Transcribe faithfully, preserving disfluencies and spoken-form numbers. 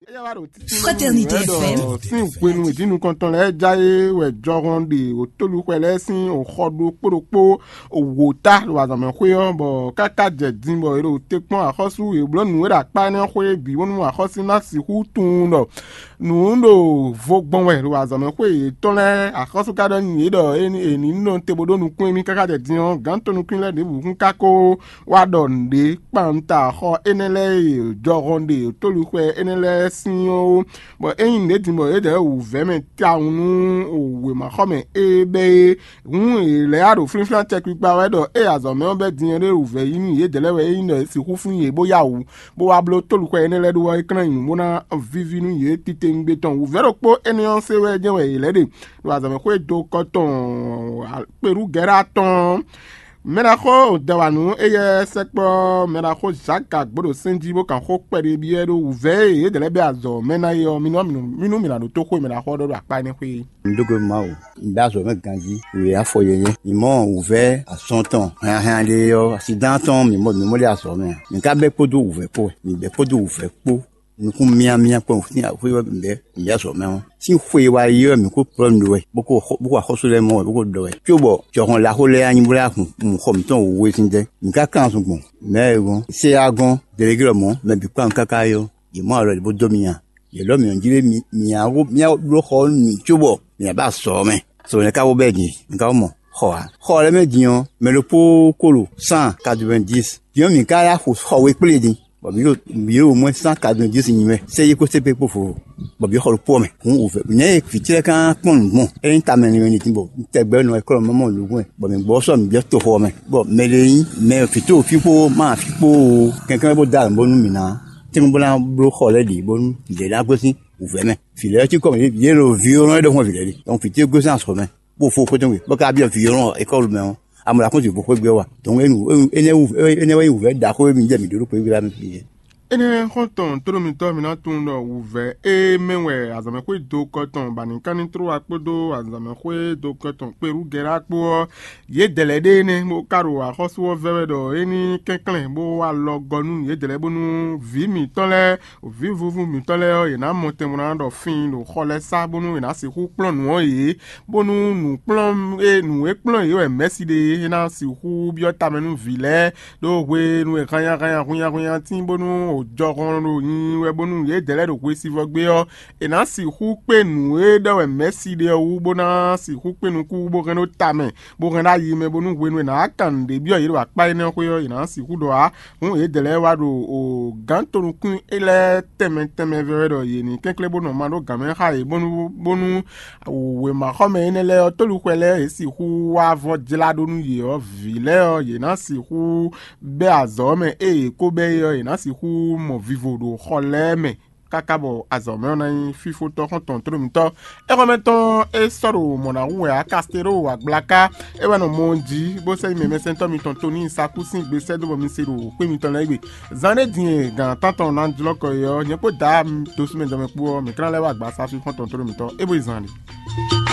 Fraternité F M. Sín hwenu e dǐnukɔntɔn lɛ́ɛ já é wɛ jɔhɔn ɖe wǒtolúxwɛ lɛ́ɛ sín òxɔ ɖokpó ɖokpó wǒ ta ɖo azɔ̌mɛxwé ɔ́, bɔ káká jɛ din bɔ è ɖo te kpɔ́n axɔ́sú e bló nǔ e ɖo akpá énɛ́ xwé bǐ bónú axɔ́sú ná sixú tunwun ɖɔ nǔ ɖo vo gbɔn wɛ ɖo azɔ̌mɛxwé yětɔn lɛ́ɛ. Axɔ́sú ka ɖɔ nyi yě ɖɔ è ní nɔ te bó ɖó nukún émí káká jɛ din ɔ́, gǎn tɔn nukún lɛ́ɛ ɖěbǔ kún ka ko wá ɖɔ nǔɖé kpanta xɔ énɛ́ lɛ́ɛ e jɔhɔn ɖe tóluxwɛ énɛ́ lɛ́ɛ sín ɔ́ ó. Bɔ ényí nǔɖé din bɔ yědɛɛ wǔvɛ́ mɛ tawun nú wěmaxɔmɛ e bɛ́ é, hǔn è lɛ́ wá ɖo flínflín tɛkpikpa wɛ ɖɔ ée azɔ̌ mɛ ɔ́ bɛ́ din ɔ́ ɖé wǔvɛ́ yí nú yědɛɛ lɛ́ɛ wɛ é nyí ɖɔ è sixú flín yě bó yá wǔ, bó wá bló tóluxwɛ énɛ́ lɛ́ɛ ɖó ɔ́, é klɛ́n nyi bó ná víví nú yě titewungbe tɔn. Wǔvɛ́ ɖokpó énɛ́ ɔ́ se wɛ jɛ́n wɛ yě lɛ́ ɖe ɖo azɔ̌ mɛ xwé do kɔ tɔn kpeɖú Gɛ̌ra tɔn. Mɛɖaxó Dɛwanu éyɛ́ sɛkpɔ́ mɛɖaxó Zaka gbǒɖo sɛ́n jí bó kan xó kpɛɖé byɔ́ ɖó wǔvɛ́ e yědɛɛ lɛ́ɛ bɛ́ azɔ̌ mɛ ná é ɔ́, mì nú mì nú mì nǎ ɖótó xó e mɛɖaxó ɔ́ ɖɔ ɖo akpá énɛ́ xwé é. Un dó gbe Mawu, un bɛ́ azɔ̌ mɛ ganjí. Wě afɔ yɛyɛ́. Mǐ mɔ wǔvɛ́ azɔn tɔn hɛnhɛn ɖé ɔ́, asidán tɔn mǐ mɔ mǐ mɔ ɖé azɔ̌ mɛ ǎ. Mǐ ka bɛ́ kpódó wǔvɛ́ kpó wɛ. Mǐ bɛ́ kpódó wǔvɛ́ kpó. Nukún myámyá kpɔ́n sín axwé ɔ́ bǐ bɛ́ mǐ azɔ̌ mɛ ɔ́. Sín xwe e wá yi ɔ́, mǐ kó plɔ́ nǔ ɖó wɛ, bó kó bó kó axɔ́sú lɛ́ɛ mɔ wɛ, bó kó ɖɔ wɛ. Cóbɔ jɔhɔn ɖaxó lɛ́ɛ wá nyi bó lɛ́ hu xɔ mǐtɔn wěwé sín tɛ́. Mǐ ka kan zun gbɔn. Mɛ̌ e gɔ́n, sé e wá gɔ́n, delegé lɔmɔ̌, mɛ bǐ kpán káká é ɔ́, yě mɔ alɔ ɖě bó dó mi nya. Yě lɔ́ mǐ ɔ́ jí lé mi mǐ á wó mǐ á bló xɔ ɔ́ nú mǐ cóbɔ mǐ á ba azɔ̌ ɔ́ mɛ. Sɔ nɛ̌ ka wó bɛ́ din? Mi ka wó mɔ xɔ ǎ. Xɔ lɛ́ɛ mɛ din ɔ́, mɛ ɖokpó kolo cent quatre-vingt-dix. Din ɔ́, mǐ ka yá xo xɔ we kplé din, bɔ mǐ ɖo mǐ ɖo au moins cent quatre-vingt-dix nyi wɛ. Sɛ yi kó sɛ́ kpé kpó vo, bɔ mǐ xɔ ɖokpó ɔ́ mɛ. Hǔn wǔvɛ́ nɛ̌ e vǐ ce lɛ́ɛ ka kpɔ́n nǔ gbɔn? É nyí tamɛ nɛ́ wɛ ní tín bɔ un tɛgbɛ nɔ e klɔ́ mɔ mɔ nǔgbɛ́, bɔ mǐ gbɔ sɔ́ mǐ byɔ́ toxo ɔ́ mɛ. Bɔ mɛ ɖé nyí mɛ fǐ tó fí kpó ma fí kpó ó, kɛnklɛ́n bó dó alɔ bónú mǐ ná tín bó ná bló xɔ lɛ́ɛ ɖě bónú lě ná gosín wǔvɛ́ mɛ. Vǐ lɛ́ɛ cí kɔ mǐ yě ɖo vǐ ɔ́ nɔ é ɖɔhun vǐ lɛ́ɛ ɖe. Donc fǐ ce gosín azɔ̌ mɛ, bó fo xwé tɔn gbe, bó ka byɔ́ vǐ ɔ́ nɔ ékɔ́lu mɛ ɔ́, amɔ ɖo akɔ́n bó xwé gbé wa. Donc énɛ́ wú énɛ́ wɛ nyí wǔvɛ́ ɖaxó e mi jɛ mǐ ɖó ɖó xwé gbé mɛ. Énɛ́ xɔ́ntɔn tóɖó mitɔ́ mi ná tunwun ɖɔ wǔvɛ́ e mɛ wɛ azɔ̌mɛxwé do kɔ tɔn ba ní ká ní tló wa kpódó azɔ̌mɛxwé do kɔ tɔn kpéɖú Gɛ̌rá kpó ɔ́, yědɛɛ lɛ́ɛ ɖe énɛ́ bó ka ɖo axɔ́sú ɔ́ vɛ́ wɛ ɖɔ é ní kɛnklɛ́n bó wá lɔ gɔ nú yědɛɛ lɛ́ɛ bónú vǐ mǐtɔn lɛ́ɛ, vǐ vúvú mǐtɔn lɛ́ɛ ɔ́, yě ná mɔ tɛn bó ná ɖɔ fin ɖo xɔ lɛ́ɛ sá bónú è nǎ sixú kplɔ́n nǔ ɔ́ yě, bónú nǔ kplɔ́n e nǔ e kplɔ́n yě wɛ mɛ̌si ɖe é ná sixú byɔ́ tamɛ nú vǐ lɛ́ɛ, ɖó hwenu e hannyahannya hunnyahunnya tín bónú jɔhɔn ɖo nyi wɛ bónú yědɛɛ lɛ́ɛ ɖo hwesivɔ́ gbé ɔ́, è nǎ sixú kpé nǔ e ɖɔ wɛ mɛ̌si ɖe ɔ́ wú bó ná sixú kpé nukún wú bó hɛn ɖó tamɛ, bó hɛn ɖó ayi mɛ bónú hwenu e è nǎ kan nǔɖé byɔ́ yě ɖo akpá énɛ́ xwé ɔ́, è nǎ sixú ɖɔ ǎ. Hǔn yědɛɛ lɛ́ɛ wá ɖo gǎn tonukún lɛ́ɛ tɛnmɛ tɛnmɛ vɛ́ wɛ ɖɔ yě ní kɛnklɛ́n bó nɔ ma ɖó gǎn mɛ xá yě bónú bónú wěmaxɔmɛ énɛ́ lɛ́ɛ ɔ́, tóluxwɛ lɛ́ɛ e sixú wá vɔ́ jlá ɖó nú yě ɔ́, vǐ lɛ́ɛ ɔ́, yě ná sixú bɛ́ azɔ̌ mɛ ée yě ko bɛ́ é ɔ́, yě ná sixú mɔ vivo ɖo xɔ lɛ́ɛ mɛ káká bɔ azɔ̌ mɛ ɔ́ ná nyí fífótɔ́ xɔ́ntɔn tlóló mǐtɔn. Éxɔ́mɛ tɔn e sɔ́ ɖo mɔ̌ ná hu wɛ ǎ, Kastélo Agblaka é wɛ nɔ mɔ ɔ́ jí, bó sɛ́ nyi mɛmɛsɛntɔ́ mitɔn Toni Sakú sín gbe sɛ́ dó bɔ mi se ɖo xwé mitɔn lɛ́ɛ gbe. Zan ɖé din e gǎn tántɔn ná jlɔ́ kɔ é ɔ́, nyɛ kpó Daá dosúmɛjɔmɛ kpó ɔ́, mǐ ka ná lɛ́ wá agbaza fí xɔ́ntɔn tlóló mǐtɔn é bó yi zan ɖe.